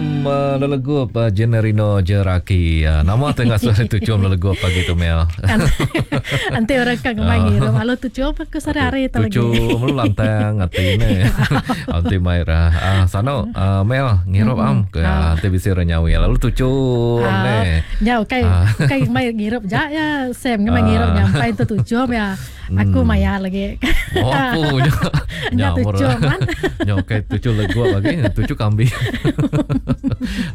Lelegup Jenerino Jeraki. Nama tu ngasuh tu tuchum lelegup pagi tu Mel. Enti orang ka ngemai ngirup alu tuchum aku sehari-hari tu lagi. Tuchum lalu lantang ati ne. Enti mai ra sano Mel ngirup am ke enti bisi orang nyawi lalu tuchum ne. Nya ukai ukai ngemai ngirup ja ya Sam ngemai ngirup nya empai tu tuchum ya. Aku maya lagi. Oh, apu nya. Nya tuchu man. Nya ukai tuchu legup lagi, tuchu kambing.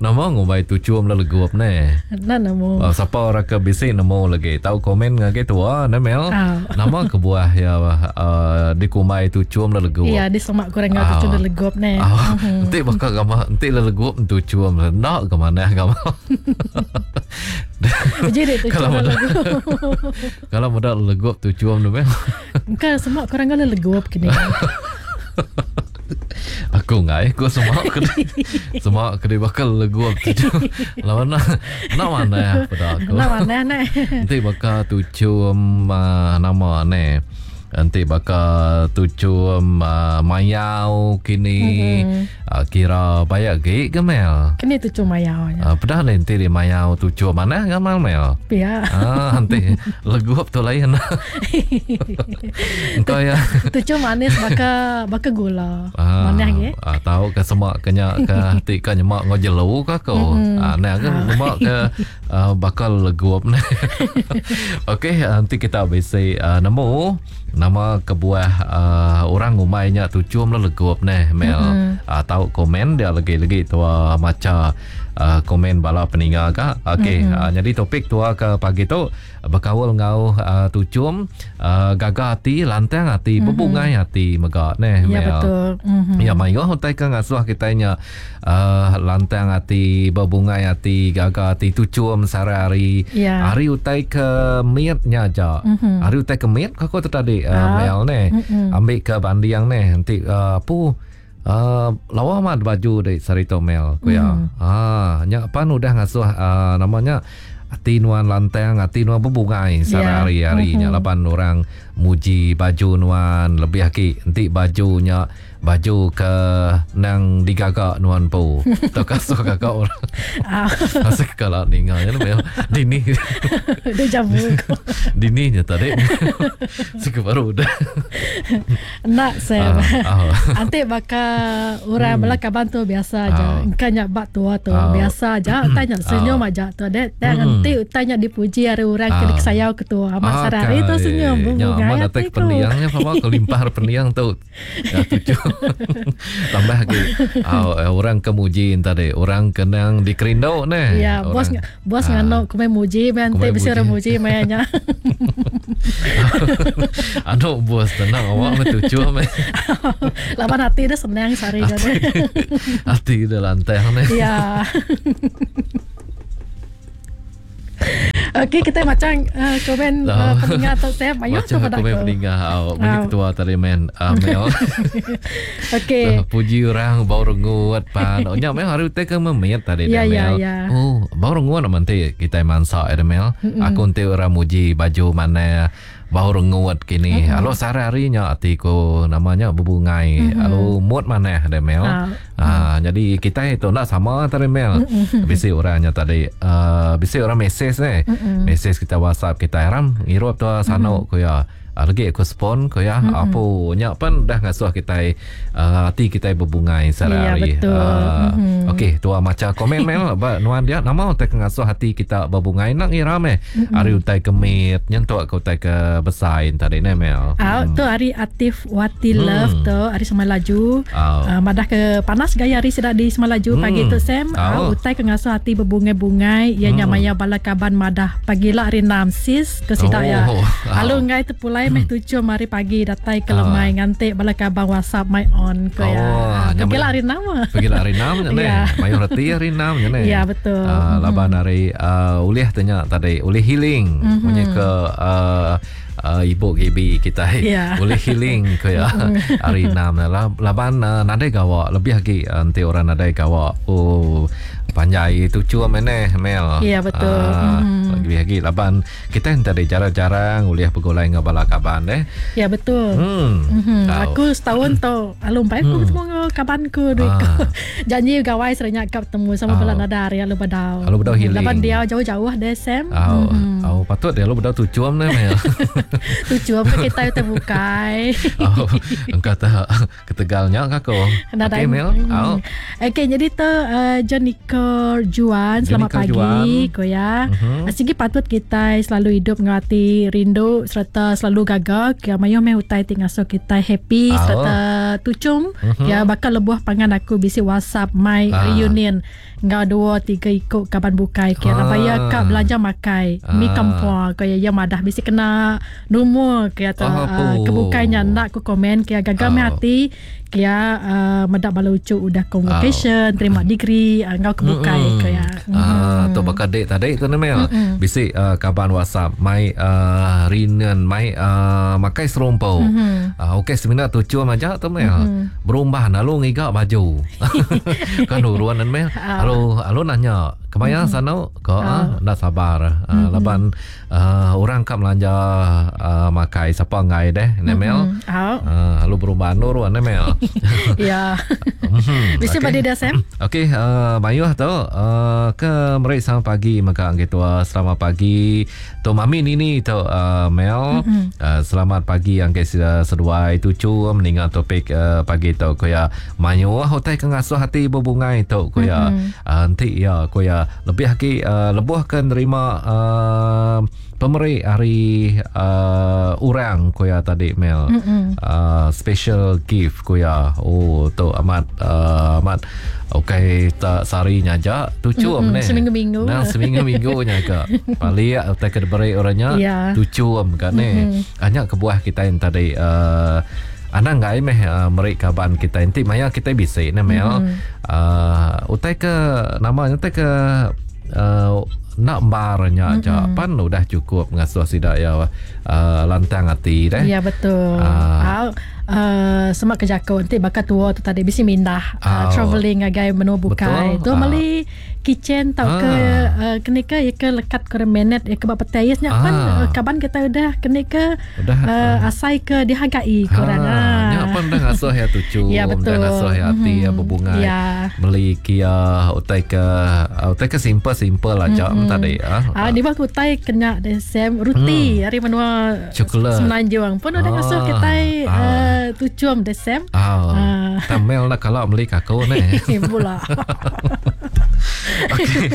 Nama ngumbai tuchu mela legup ne? Enda nemu. Oh, sapa orang ke bisi nemu lagi tau komen ngagai tua ne Mel. Oh. Nama kebuah ya uh, dikumbai tuchu mela legup? Ya, disemak kurang enggau tuchu mela legup ne. Oh. Mm-hmm. Enti baka gama enti legup tuchu enda ke manah gama. Uji dek tuchu mela legup. Kalau meda legup tu cuam tu meh. Engka semua korang ngala legup kini. Aku ngai aku semua ke semua ke bakal legup tu. Lawan nak nak mana pada aku. Nak mana ne. Enti baka tuchum uh, nama ne. Enti baka tuchum uh, mayau kini mm-hmm. uh, kira bayak gi ke mel. Kini tuchum mayau nya. Uh, pedah le enti di mayau tuchum manah gamal mel. Pia. Ah enti legup tu lain. Engkau ya. Tuchum manis baka baka gula. Ah, Manah gi. Ah, tau ke semak ke nya ke ti ka nyemak enggau jelu ka ko. Mm-hmm. Ah nah ke nyemak ke Uh, bakal legup ne. Okey, nanti kita bisi uh, nemu nama kebuah uh, orang ngumbai nya tuchum le legup neh Mel. Mm-hmm. Uh, tau komen dia lagi-lagi tua macha uh, komen bala peninga ka. Okey, mm-hmm. uh, jadi topik tua ke pagi tu bekaul enggau uh, tuchum uh, gaga ati, lantang ati, mm-hmm. bebungai ati mega neh ya, Mel. betul. Mm-hmm. Ya mayuh utai ke ngasuh kita nya Uh, lantang ati, bebungai ati, gaga ati, tuchum sehari-hari. Yeah. Hari utai ke mit nya aja. Mm-hmm. Hari utai ke mit aku tu tadi uh, Mel ne. Mm-hmm. Ambil ke banding ne enti uh, apu uh, lawa amat baju dek sehari tu Mel ku ya. Mm-hmm. Ah, nya pan udah ngasuh uh, namanya ati nuan lantang, ati nuan bebungai sehari-hari Yeah. nya laban orang muji baju nuan lebih agi enti baju nya Baju ke nang digaga nuan empu. Tauka asuh gaga orang. Asuh ke kala ninga nya meh. Dini. Deja vu ko. Dini nya tadi. Suka baru udah. Enda Sam. Ah, ah. Anti baka orang bala kaban tu biasa aja. Ah. Engka nya ba tua tu Ah. biasa aja utai nya senyum aja tu dek. Tang enti utai nya dipuji ari orang ke Ah. dikesayau ke tu. Amat sehari-hari tu senyum Nya bebungai amat datai ati ke ku. pendiang nya sama kelimpah ari pendiang tu. Ya, tuju. Tambah lagi uh, orang ke muji tadi, orang ke nang dikerindu neh. Ya, bos Orang- bos nganu kumai muji meh enti Kumai bisi muji. orang muji maya nya. Anu bos tenang awak meh tuju meh. Laban ati dia senang sehari jadi. Ati dia lantang neh. Ya. Okey, kita macam uh, komen uh, pendengar tu saya mayuh Macam tu pada komen aku. pendengar. Oh, bagi Ah. ketua tadi men. Uh, Mel. Okey. Puji orang bau rengut pan. Oh, nya mel hari utai ke memit tadi Ya, dah, ya, Mel. ya. Oh, bau rengut nak nanti kita mansak ya Mel. Aku nanti orang muji baju mana bau rengut kini. Lalu sehari-hari nya ati ku namanya bebungai. Lalu mood mana dah Mel. Ah. Ah, jadi kita itu nak sama tadi Mel. Bisi orangnya tadi uh, bisi orang mesej ni. Mesej kita WhatsApp kita ram ngirup tu sano ku ya. Ah, lagi aku spon ku ya. Apa nya pan dah ngasuh kita uh, ati kita berbungai sehari-hari. Ya, betul. Ah, Okey, tua maca komen Mel ba nuan dia nama utai ke ngasuh hati kita berbungai nak ngira meh. Hari utai ke mit nyentuk ke utai ke besai tadi ne Mel. Ah, tu hari Atif Wati Love tu hari Semalaju. Ah. Uh, madah ke panas gaya hari sedak di Semalaju pagi tu Sam. Ah. Uh, utai ke ngasuh hati berbungai-bungai ia nya maya bala kaban madah pagi lah hari 6 sis ke sidak ya. Oh. Ah. Lalu ngai terpulai meh tujuh hari pagi datai ke lemai ngantik bala kaban WhatsApp my on ke ya. Oh, Ah, nya Pagi lah maya- hari 6. Pergi lah hari 6 nya ne. Ya. Mayuh reti hari 6 nya ne. Ya, betul. Uh, laban hari uh, ulih tanya tadi, ulih healing mm-hmm. punya ke uh, uh, ibu gibi kita Ya. ulih healing ke ya hari 6 lah. Laban uh, nadai gawak lebih lagi uh, nanti orang nadai gawak. Oh. Panjai tuchum meh Mel. Ya betul. Uh, mm-hmm. Lebih lagi laban kita tadi jarang-jarang ulih begulai enggau bala kaban eh. Ya betul. Hmm. Mm-hmm. Aku setahun tu alu empai aku ketemu enggau kaban ku duit ku. Ah. Janji gawai serenya ka betemu sama bala nada hari alu bedau. Alu bedau healing. Laban dia jauh-jauh deh Sam. Au. Mm-hmm. Au patut dia alu bedau tuchum neh Mel. Tuchum ke kita utai bukai. Au. Engka ta Ketegal nya ka ko. Okey Mel. Hmm. Au. Okey jadi tu uh, Jonica Juan selamat Jonica pagi Juan. ko ya. Uh-huh. Sigi patut kita selalu hidup enggau ati rindu serta selalu gaga ke mayuh meh utai ti ngasuh kita happy Au. serta tuchum uh-huh. ya bakal lebuh pangan aku bisi WhatsApp mai uh. reunion enggau dua tiga iku kaban bukai ke laban iya ka belanja makai mi kampua ko iya iya madah bisi kena numur ke atau uh, ke bukai nya enda ku komen ke gaga meh ati ke uh, meda bala uchu udah convocation terima degree uh, enggau ke bukai ke iya ah tu baka dik tadi tu ne mel bisi uh, kaban WhatsApp mai uh, reunion mai uh, makai serumpu uh, okey semina tuchum aja tu mel berumbah lalu ngiga baju Kan urun nan meh. Alu alu nanya, kemaya sanu ko ah enda sabar. Ah, laban ah, orang ka melanja ah, makai sapa enggai deh ne mel. Ah, alu berumban urun ne mel. Ya. Bisi ba dia Sam. Okey, uh, mayuh tu uh, ke meri selamat pagi mega enggai tua. Selamat pagi. Tu mami nini tu uh, Mel. Mm-hmm. Uh, selamat pagi angkai seduai tucu meninga topik uh, pagi tu ko ya mayuh utai ke ngasuh hati berbungai tu ko ya. Mm-hmm. Uh, enti ya ko ya lebih agi uh, lebuh ke nerima uh, pemeri hari uh, orang ko ya tadi Mel. Mm-hmm. Uh, special gift ko ya. Oh tu amat uh, amat Ukai tak sehari nya aja tuchum mm-hmm. neh. Seminggu-minggu. Nah, seminggu-minggu nya ka. Palik utai ke diberi orang nya yeah. tuchum ka neh. Mm-hmm. Anya kebuah kita yang tadi uh, anang gai meh uh, meri kaban kita enti maya kita bisi neh mel. Mm-hmm. Uh, utai ke nama nya utai ke uh, nak bar nya aja mm-hmm. pan udah cukup ngasuh sida ya uh, lantang ati deh. Ya betul. Uh, uh, semak ke jako enti baka tua tu tadi bisi mindah uh, travelling ngagai menua bukai. Tu uh. meli kitchen tau ke uh. uh, keni ke ya ke lekat ke menet ya ke ba petai nya uh. pan uh, kaban kita udah keni ke udah uh, uh. asai ke dihargai ke orang. Uh. Nya pan udah ngasuh ya tucu, ya, betul. udah ngasuh ya ati mm-hmm. ya berbunga. Ya. Meli kia utai ke utai ke simple-simple aja mm-hmm. tadi ah. Ah di bawah utai kena de Sam ruti hmm. ari menua Coklat. Semenanjung pun udah ngasuh ah. kitai ah. uh, tuchum de Sam. Ah. ah. Tamel lah kalau beli kako ne. Pula. Okey.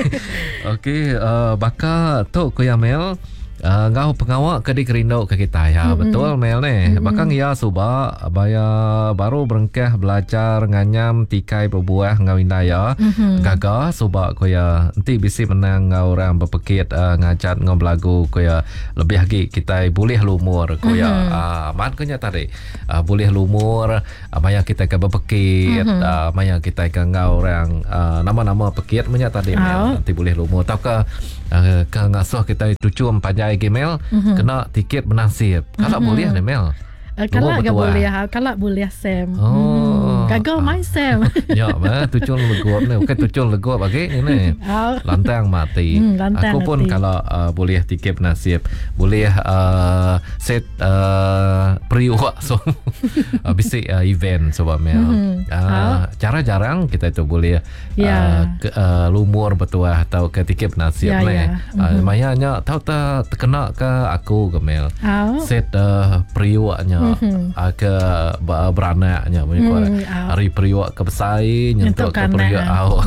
Okey, uh, baka tu ku ya Mel. Uh, enggau pengawa ke dikerindu ke kita ya mm-hmm. betul Mel ne mm-hmm. baka ngia suba baya baru berengkah belajar nganyam tikai bebuah enggau indai ya mm-hmm. gaga suba ko ya enti bisi menang enggau orang bepekit uh, ngajat enggau belagu ko ya lebih agi kitai bulih lumur ko ya mm-hmm. uh, amat ko nya tadi uh, bulih lumur uh, maya kitai ke bepekit mm-hmm. uh, maya kitai ke enggau orang uh, nama-nama pekit menya tadi oh. Mel enti bulih lumur tauka uh, ke ngasuh kitai tuchum panjai agi Mel mm-hmm. kena tiket benasib kala mm-hmm. bulih ne Mel. Kala ga boleh, kala boleh Sam. Oh. Hmm. Gagal mai Sam. Ya, meh tuchum legup ni. Bukan tuchum legup agi ni. Oh. Lantang mati. Hmm, lantang Aku pun kalau uh, boleh tiket nasib, boleh uh, set uh, periuk so uh, bisi uh, event sebab meh. Mm-hmm. Uh, cara jarang kita itu boleh yeah. uh, ke, uh, lumur bertuah atau ke tiket nasib yeah, ni. Yeah. Mm-hmm. Uh, mayanya tahu tak terkena ke aku ke mel. Oh. Set uh, periuknya mm-hmm. uh, ke beranaknya punya mm, oh. Hari periuk ke besai nyentuk ke periuk au.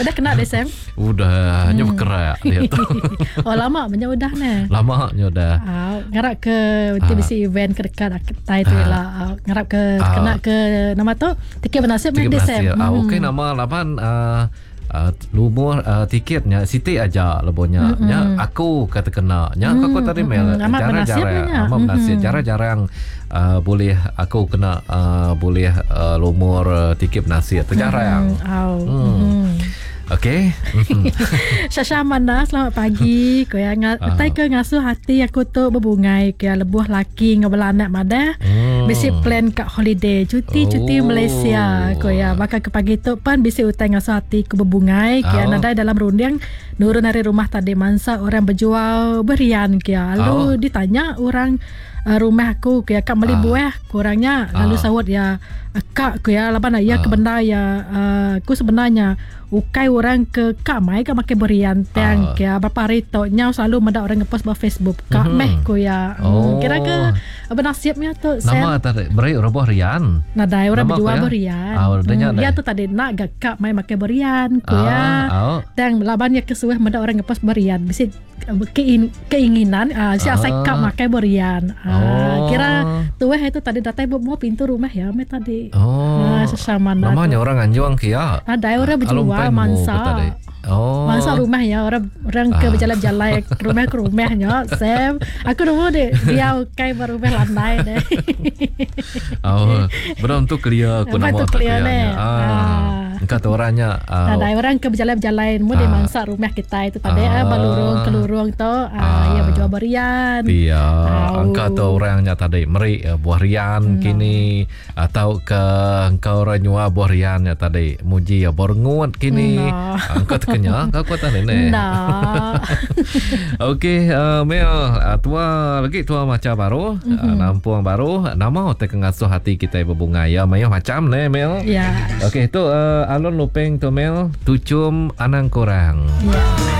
Udah kena deh Sam? Udah, hanya mm. berkerak dia tu. oh lama banyak udah ne. Lama nya udah. Oh, ngarap ke nanti bisi event ke dekat tai tu lah. Oh, ngarap ke ah. kena ke nama tu tiket bernasib meh deh Sam. Ah, okey nama laban uh, uh, lumur uh, tiketnya siti aja lebuhnya mm-hmm. nya aku kata kena nya mm-hmm. aku tadi mel mm-hmm. jarang-jarang amat bernasib mm-hmm. jarang-jarang uh, boleh aku kena uh, boleh uh, lumur uh, tiket bernasib tu jarang mm-hmm. Oh. Mm. Okey. Shasha Amanda, selamat pagi. Ko ya uh. tai ke ngasuh hati aku tu berbungai ke lebuh laki ngau bala anak madah. Hmm. Bisi plan ka holiday, cuti-cuti oh. Malaysia ko ya. Baka ke pagi tu pan bisi utai ngasuh ati ku bebungai kia oh. nadai dalam runding nurun ari rumah tadi mansa orang bejual berian kia. Lalu oh. ditanya orang uh, rumah aku kia ka meli ah. buah kurangnya lalu ah. saut ya kak ku ya laban ya ah. ke bendar ya uh, ku sebenarnya ukai orang ke ka mai ka makai berian tang uh. ke berapa hari tu nyau selalu meda orang ngepost ba Facebook ka mm-hmm. meh ku ya hmm, oh. kira ke benasibnya tu nama tadi beri roboh rian nadai orang berjual berian oh, hmm, ya tu tadi nak ga ka mai makai berian ku ya oh. tang laban ya kesuah meda orang ngepost berian bisi keinginan uh, si asai uh. kap makai berian uh, oh. kira tuah itu tadi datai buat mau pintu rumah ya me tadi oh. Uh, sesama namanya orang anjuang kia ada orang berjual mansa Oh. Masa rumah ya orang orang ke berjalan-jalan ke rumah ke rumahnya Sam aku dulu deh dia kai baru rumah landai deh. Oh, belum tu clear aku nama tu clear ne. Ah. Engka tu orangnya uh, Ada orang ke berjalan-jalan mu di ah. mansa rumah kita itu tadi ah, balurung kelurung tu ah, ah. ya berjual berian. Iya, engka tu orangnya tadi meri uh, buah rian hmm. kini atau ke engkau orang nyua buah rian nya tadi muji ya borengut kini. Hmm. Engka terkenya kau aku tadi ne. Nah. Okey, uh, Mel, uh, tua lagi tua macam baru, mm-hmm. uh, nampung baru nama te ngasuh hati kita berbunga ya mayuh macam ne Mel. Ya. Okey, tu uh, Alun Lupeng tu Mel, tucum anang korang. Ya.